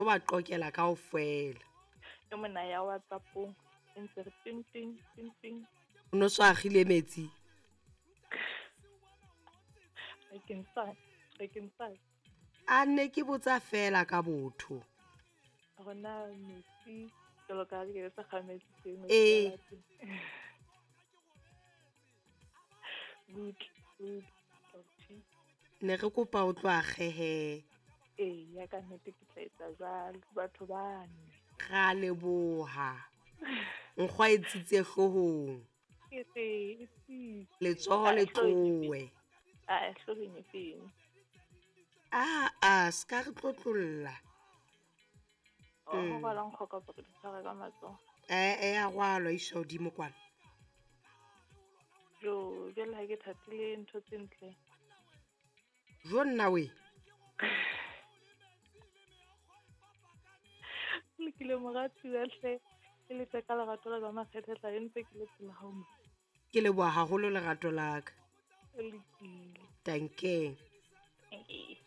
O ba qokela kaofela. E mona ya WhatsApp-ong e ntse re ting ting ting ting. O no so akgile metsi. Bakeng sa A ne ke botsa fela ka botho. Rona metsi jwalo ka ha ke sa kga metsi teng. Ee. Butle, butle. Ne re kopa o tlo akgehe. Ee, ya ka nnete ke tla etsa jwalo. Batho bane. Ra leboha. Nkgwa e tsitse hloohong. Ke re, e tsitse. Letsoho le tlowe. A hloohong e feng? Aa, ska re tlotlolla. Ho rwala nkgo kapa re di tshware ka matsoho? E a rwalwa iswa hodimo kwana. Jo, jwale ha ke thatile ntho tse ntle. Jo nna we. Lokile moratuwa hle. Ke letsa ka lerato la ka makgethe tla ntse ke le pela hao mo. Ke leboha haholo lerato la ka. Lokile. Danke. Danke.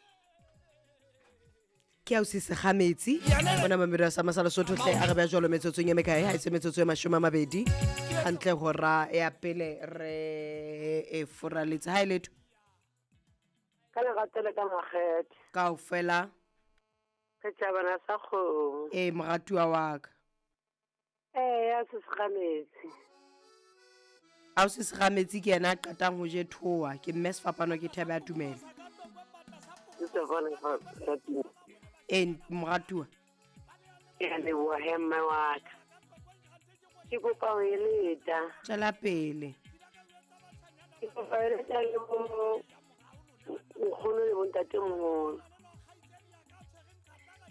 Ke ausi Segametsi mona Mamelodi sa Masala Sotho hle a re beha jwalo metsotsong e mekae ha e se metsotso e 20 hantle hora ya pele re e foraletse ha e letho ka lerato le ka makgethe kaofela setjhabana sa kgomo. Ee moratuwa wa ka. Ee ya se Segametsi. Ausi Segametsi ke yena a qetang ho je thoa ke mme sefapano ke thebe ya tumelo. Ee moratuwa. Ke a leboha he mme wa ka. Ke kopa ho eletsa. Tswela pele. Ke kopa ho eletsa le bo nkgono le bontatemoholo.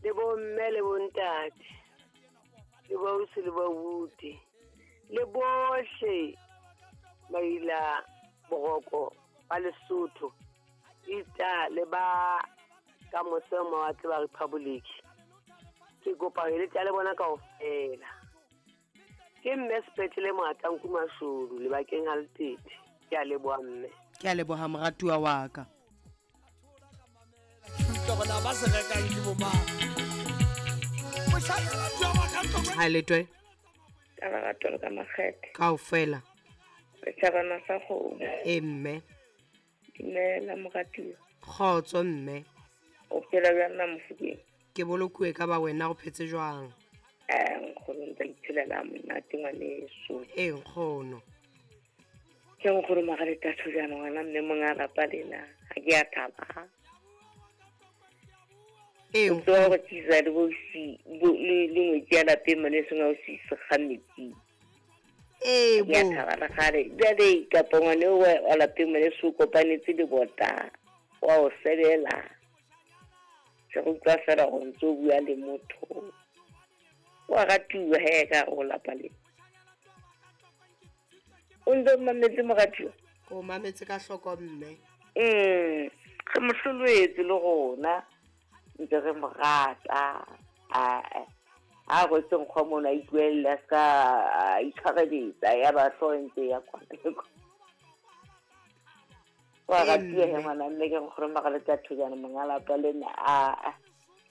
Le bo mme le bontate. Le bo ausi le bo abuti. Le bohle maila boroko ba Lesotho. Ita le ba ka mose ho mawatle ba Republic. Ke kopa ho eletsa le bona kaofela. Ke mme sepetlele Moatanku Mashodu lebakeng ha Letete. Ke a leboha mme. Ke a leboha moratuwa wa ka. Ha letwe. Ka lerato le ka makgethe. Kaofela. Setjhabana sa kgomo. Ee mme. Dumela moratuwa. Kgotso mme. O phela bjang na Mofokeng? Ke bolokuwe ka ba wena o phetse jwang? Nkgono ntse ke phelela monate ngwaneso. Ee nkgono. Ke nkgono Magalethatho jaana ngwana mme monga lapa lena ha ke a thaba. Ee O tloha go tlisa le bosi le ngwetsi ya lapeng mane seng ausi Segametsi. Ee Ke a bo. thaba le kgale. Jwale kapa ngwane o wa lapeng mane so kopanetse le bota wa o sebela. Se go utlwa fela go ntse o bua le motho. Wa ratuwa he ka go lapa le. O ntse o mametse moratuwa? O mametse ka hloko mme. Re mo hloloetse le rona. Ntse re mo rata. A rwetse nkgo mona a ipuella a ska a itshwareletsa ya ba hlooho e ntse ya kwana le kwana. Wa ratuwa he ngwana mme ke nkgono Magalethatho jaana monga lapa lena a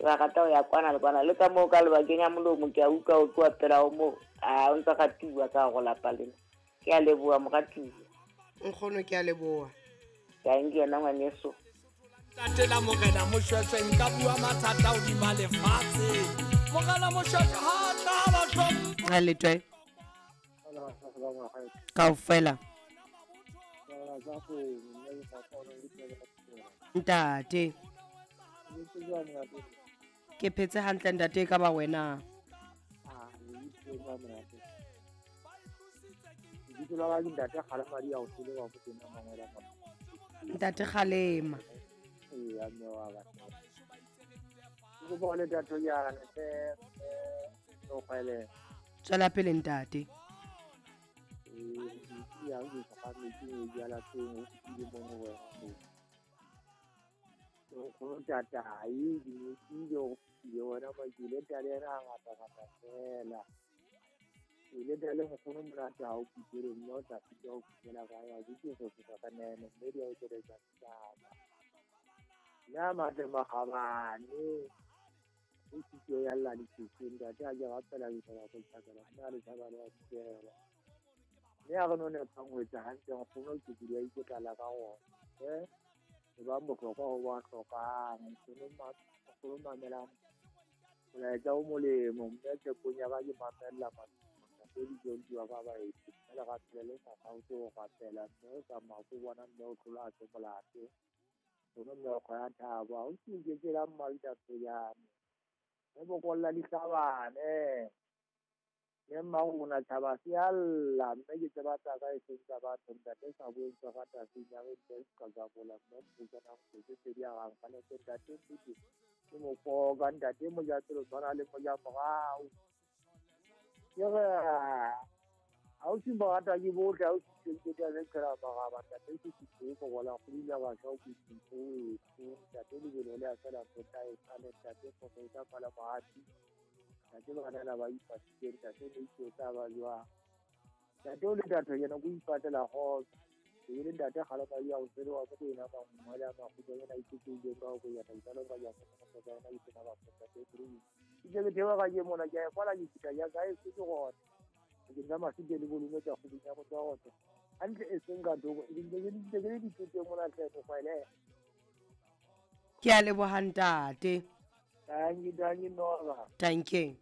ba rata ho ya kwana le kwana le ka moo ka lebakeng ya molomo ke a utlwa o tloha pela ho moo a o ntsa ratuwa ka go lapa lena. Ke a leboha moratuwa. Nkgono ke a leboha. Ka nke yena ngwaneso. Tatela morena Moshweshwe nka bua mathata hodima lefatshe. Morena Moshweshwe ha tla ba hlompha. Ha letwe. Kaofela. Ntate. Ke phetse hantle ntate ka ba wena. Ntate Kgalema. Tswela pele ntate. O sitio ya lla dithekeng ntate a ke rapela ke tla go tshakela mme a le tshaba le wa dikela. Mme a re no nepang ho etsa hantle nkgono ke dula iketlala ka gona. E bang bohlokwa ho ba hlokang nkgono mamelang molaetsa o molemo mme tshepong ya ka ke mamella ntate dijonti wa ka baeti mme le rapele le sa kgaotse ho rapela mme o tsamaya ko bona mme o tlola a se molato nkgono meokgo ya thabo ha o se iketsela mmalitatsonyane mme bokolla dihlabane mme mmarona tjhaba se a lla mme ke tseba tsa ka e seng tsa batho ntate sa boeng tsa ka taseng ya re nte ka jabola mme mpukana tse pedi a gang ka lete ntate nnete ke mokoka ntate moja pele tshwana le moja morao ke re ha o se morata ke bohle ha o se ke tla le tshela maraba ntate ke se ke bola go ile ba sha go itse ntate lebelo le a fela tota e sale ntate go ka pala moati ntate bana ba ipatile ntate ne itse tsa ba jwa ntate o le ntate yena go ipatela go e le ntate gala ba ya o tsere wa go ena ba ngwala ba go yena itse ke ka go ya ta lo ba ya go ka yena itse ba go ntate ke ke ke thewa ga ke mona ke ya kwala ke fita ya kae se ke gona ke nna masike le bolume tsa go binya go tswa go hantle e seng ka thoko e ke ke di tse mona tle go kwaele ke a leboha ntate. Thank you, Nora. Thank you.